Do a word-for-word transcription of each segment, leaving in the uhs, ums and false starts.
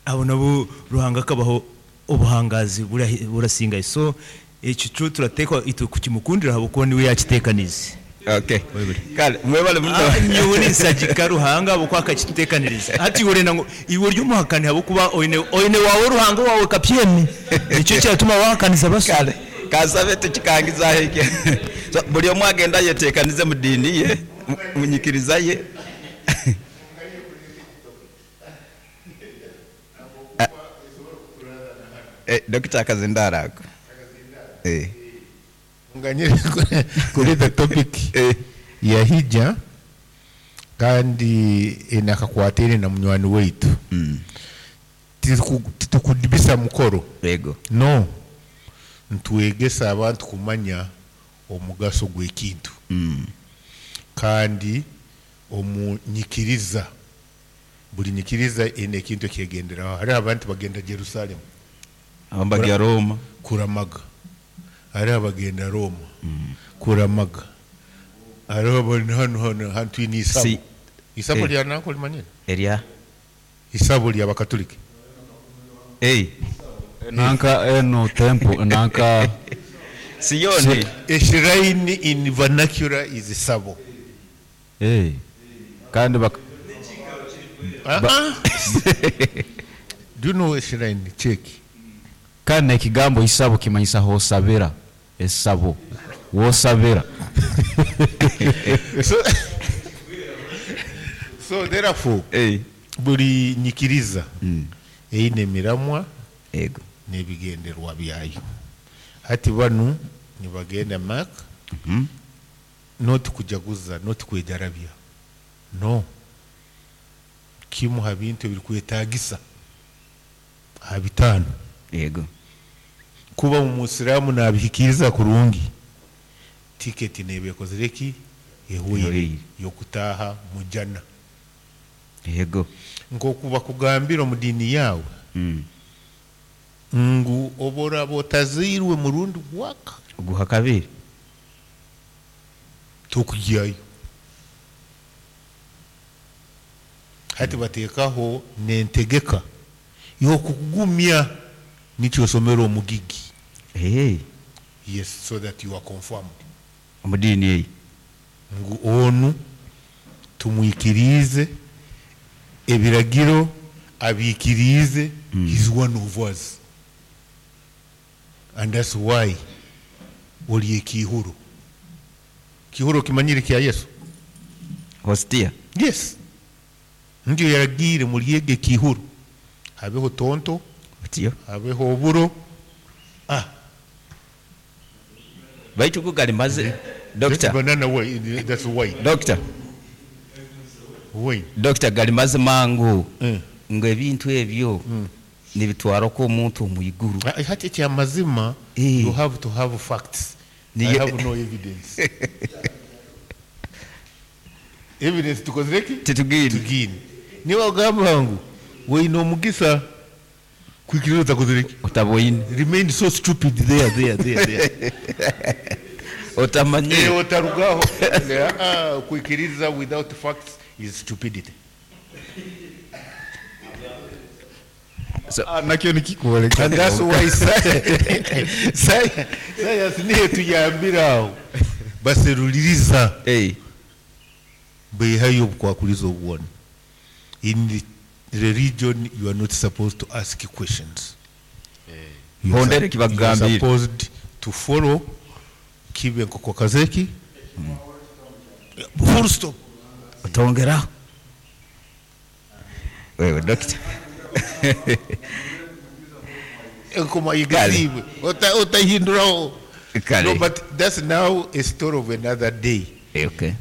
Abo nabo Ruhanga akabaho obuhangazi bura- burasingaye. So ekyo kyo turateekwa itwe kukimukundira habwokuba niwe yakitekanize. Okay, kale mwebale muno. Ah, nyowe ninsagika Ruhanga habwokuba akakitutekaniriza. Hati iwe orenda ngu iwe ori omuhakani habwokuba oine oine wawe Ruhanga wawe kapyemi, nikyo kiratuma wahakaniza baso. Kale kansabe tukikangizaho ekyo. So buli omu agenda ayetekanize mu diini ye, mu- munyikiriza ye. Ah, eh, Dokita, akazindara ako. Eh. Nganyire kuleta topic Eh. ya hija kandi enakakwatire na munywani waitu. Mm. Tituku- titukudibisa mukoro. Yego. No, ntwegesa abantu kumanya omugaso gw'ekintu. Mm. Kandi omunyikiriza, buli nyikiriza ine ekintu ekyegenderaho. Hariho abantu bagenda Jerusalemu. Abambagya Roma. Kuramaga. Hariho abagenda Roma kuramaga. Hariho abali hano hano hantu ni isabo. Si. Isabo Eh. lya nanko limanyire? Erya. Isabo lya bakatoliki. Hey. Nanka eno temple nanka. Siyoni. A shrine in vernacular is isabo. Eh, kandi bak Ah, ah. Do you know a shrine? Check. Kandi ekigambo isabo kimanyisa hosabira, esabo wosabira. so, so therefore, hey. Buli nyikiriza Mm. eine emiramwa Ego. n'ebigenderwa byayo. Hati banu nibagenda Mak, Mm -hmm. not kujaguza, not kwejarabya, no kimu ha bintu ebirikwetagisa ha bitaano. Yego. Kuba omusiraamu nabihikiriza kurungi, tiketi neeba ekozire ki? Ehweire Ehweire. yokutaaha mujana. Yego. Nkoku bakugambira omu diini yaawe Mm. ngu oboraba otazairwe murundi gwaka Guha kabiri tokugyayo. Hati bateekaho nentegeka yokukugumya nikyo osomera omugigi. Hey. Yes, so that you are confirmed. Omu diini eyi. Ngu onu tumwikirize ebiragiro abikirize. Mm. He's one of us. And that's why oli ekihuro. Kihuro kimanyire kya Yesu. Hostia. Yes. Ndio yaragire mulyege kihuro. Habeho tonto, Otyo. habeho oburo. Ah. Baitu kugali maze. That's Doctor. banana way, that's wine. Doctor. Wine. Doctor, gali mazima ngu Mm. ngo ebintu ebyo Mm. nibitwara ko omuntu omu iguru. Ah, hati kya mazima, Eh. you have to have facts. Ni I ye- have no evidence. Evidence tukozere ki? Titugine. Tugine. Niwe ogamba ngu weine omugisa kwikiriza utakozere ki? Otaboine. Remain so stupid there, there, there, there. Otamanye. Eh, otarugaho. Ah, kwikiriza without facts is stupidity. So, ah, nakyo nikikuoleka. And that's why science, science niyo tuyambiraho. Baseruliriza. Hey. Beihayo obukwakuliza obwona. In the religion you are not supposed to ask questions. You are Hondere sup-, kibagambire. you are supposed to follow kibe nkoko kazeki. Mm. Full stop. Otongera. Wewe doctor. Enkoma igazibwe. Ota otahinduraho. Kale. No, but that's now a story of another day. Eh, okay.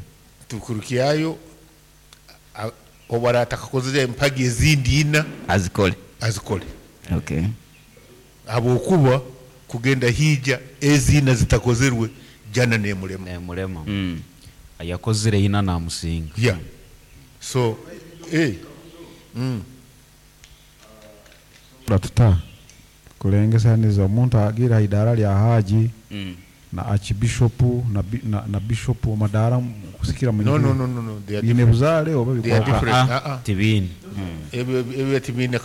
Tukurukiayo obara atakakozere empagi ezindi ina azikole. Azikole. Okay. Abokuba kugenda hija ezina zitakozerwe jana nemulema. Nemulema. Mm. Yakozere ina na musinga. Yeah. So, eh. Mm. Tuta kulengesaniza omuntu agira idara lya haji. Mm. Na archbishop na na, na bishop madara kusikira mu No, no, no, no, no. They are Bine different. buzale oba They are bikoka. different. Ah, Ah, ah. tibini. Ebyo, ebyo tibini.